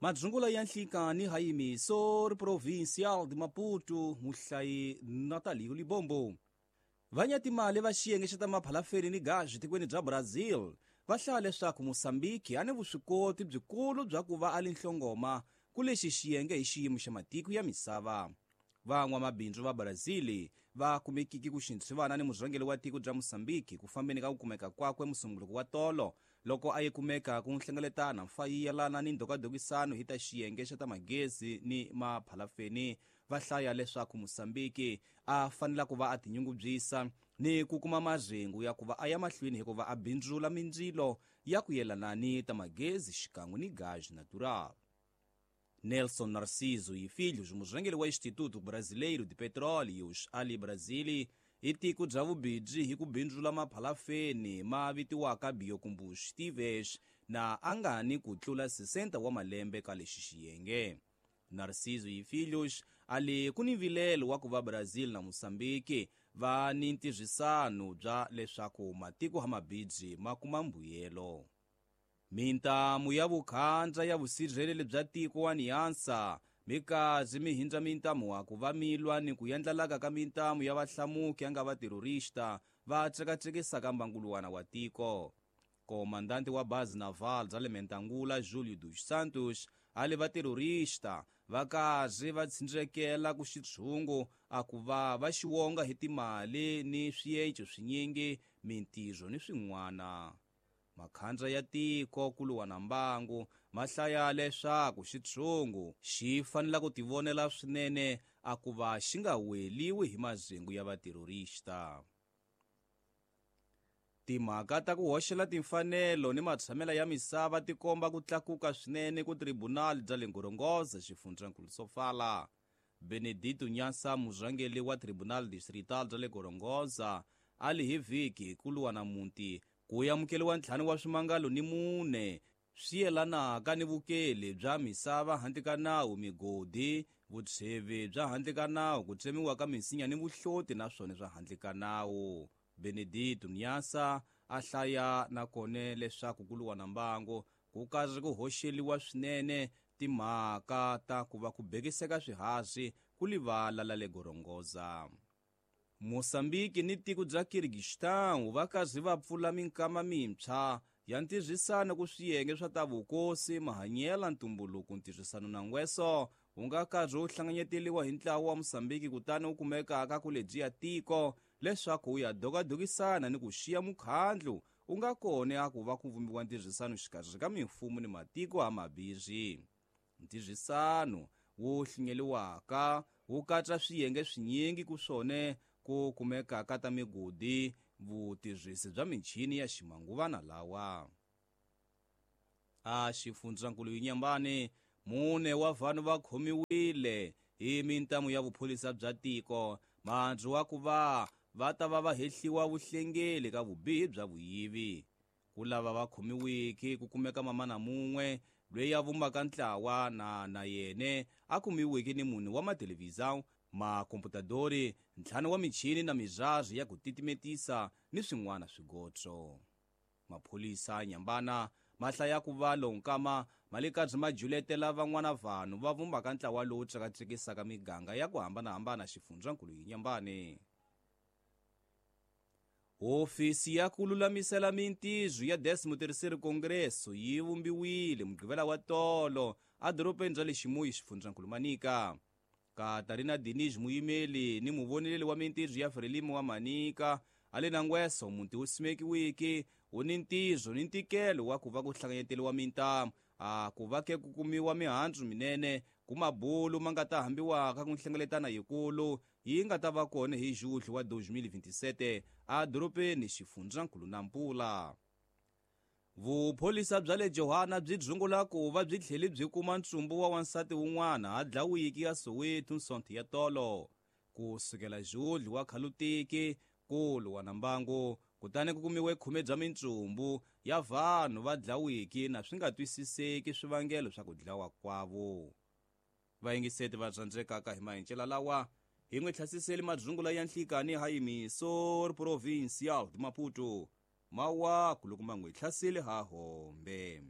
Madzungula ya nhlikani ha Emissor Provincial de Maputo, muhlayi Natalio Libombo. Vanyatimali va xiyenge xa ta maphalafeni ni gazi tikweni bya Brazil va hlaya leswaku Mozambique a ni vuswikoti byikulu bya ku va a li nhlongoma ku lexi xiyenge hi xiyimo xa matiko ya misava. Van'wamabindzu va Brazil va kumekiki ku xintshivana ni murhangeri wa tiko bya Mozambique ku fambeni ka ku kumeka kwakwe musumbuluko wa tolo loko a yi kumeka ku nhlengeletana mfa yi yelana ni ndhokadhokisano hi ta xiyenge xa ta magezi ni maphalafeni. Va hlaya leswaku Mozambique a fanela ku va a tinyungubyisa ni ku kuma marhengu ya ku va a ya mahlweni hikuva a bindzula mindzilo ya ku yelana ni ta magezi xikan'we ni gaz natural. Nelson Narciso e Filhos, murhangeri wa Instituto Brasileiro de Petróleos ali Brazil, i tiko bya vubindzu hi ku bindzula maphalafeni ma vitiwaka biocombustíveis na a nga ni ku tlula 60 wa malembe ka lexi xiyenge. Narciso e Filhos ali ku ni vilelo wa ku va Brazil na Mozambique va ni ntirhisano bya leswaku matiko ha mabindzu ma kuma mbuyelo. Mintamu ya vukhandza ya vusirheleli bya tiko wa Niansa mikazi mi hindza mintamu wa ku va milwa ni ku yandlalaka ka mintamu ya vahlamuki ya nga va terrorista va tsekatsekisaka mbanguluwana wa tiko. Komandanti wa bazi naval bya le Mentangula Julio dos Santos a li va terrorista va kazi va tsindzekela ku xitshungu a ku va va xiwonga hi timali ni swienco swinyingi mintirho ni swin'wana. Makhandza ya tiko ku luwa na mbangu ma hlaya leswaku xitshungu xi fanela ku tivonela swinene a ku va xi nga weliwi hi mazengu ya vaterrorista. Timhaka ta ku hoxela timfanelo ni matshamela ya misava ti komba ku tlakuka swinene ku tribunal bya le Gorongosa xifundzankulu Sofala. Benedito Nyasa murhangeri wa Tribunal Distrital bya le Gorongosa a li hi vhiki ku luwa na muti ku amukeriwa ntlhanu wa swimangalo ni mune swi yelanaka ni vukeli bya misava handle ka nawu, migodi, vutshevi bya handle ka nawu, ku tsemiwa ka minsinya ni vuhloti naswona swa handle ka nawu. Benedito Nyasa a hlaya nakona leswaku ku luwa na mbangu ku karhi ku hoxeliwa swinene timhaka ta ku va ku bekiseka swihazi ku livala la le Gorongosa. Mozambique ni tiko bya Kyrgyzstan va karhi va pfula minkama mintshwa ya ntirhisano ku swiyenge swa ta vukosi, mahanyelo, ntumbuluko, ntirhisano na ngweso wu nga karhi wu hlanganyeteliwa hi ntlawa wa Mozambique kutani wu kumekaka ku lebyiya tiko leswaku wu ya dokadokisana ni ku xiya mukhandlu wu nga kona a ku va ku vumbiwa ntirhisano xikarhi ka mimfumo ni matiko ha mabirhi. Ntirhisano wu hlinyeliwaka wu katsa swiyenge swinyingi ku swone ku kumekaka ta migodi, vutirhisi bya michini ya ximanguvana lawa. A xifundzankulu Inhambane mune wa vanhu va khomiwile hi mintamu ya vupholisa bya tiko mandzu wa ku va va ta va va hehliwa vuhlengeli ka vubihi bya vuyivi. Ku lava va khomiwiki ku kumeka mamana mun'we loyi a vumbaka ntlawa na na yene a kumiwiki ni munhu wa mathelevhizão, makomputadori, ntlhanu wa michini na mizwazi ya ku titimetisa ni swin'wana swigotso. Mapholisa Nyambana ma hlaya ku va lonkama ma le karhi ma juletela van'wana vanhu va vumbaka ntlawa lowu tsekatsekisaka miganga ya ku hambanahambana xifundzankulu Inhambane. Hofisi ya ku lulamisela mintirho ya 13º Congresso yi vumbiwile Mugqivela wa tolo edorobeni ra le Ximuyi xifundzankulu Manica. Catarina Diniz muyimeli ni muvoneleli wa mintirho ya Frelimo wa Manica a le na ngweso muti wu simekiwiki wu ni ntirho ni ntikelo wa ku va ku hlanganyeteliwa mintamu a ku va ke ku kumiwa mihandzu minene ku mabulu ma nga ta hambiwaka ku nhlengeletana yikulu yi nga ta va kona hi Julho wa 2027 edorobeni xifundzankulu Nampula. Vupholisa bya le Johanna byi dzungula ku va byi tlhele byi kuma ntsumbu wa wansati wun'wana a dlawiki ya Soweto nsonto ya tolo. Ku sukela Julho wa khalutiki ku luwa na mbangu kutani ku kumiwe khume bya mintsumbu ya vanhu va dlawiki na swi nga twisiseki swivangelo swa ku dlawa kwavo. Vayingiseti va tsandzekaka hi mahencela lawa hi n'wi tlhasiseli madzungula ya nhlikani ha Emissor Provincial de Maputo mawaku loko ma n'wi hlaseli ha hombe.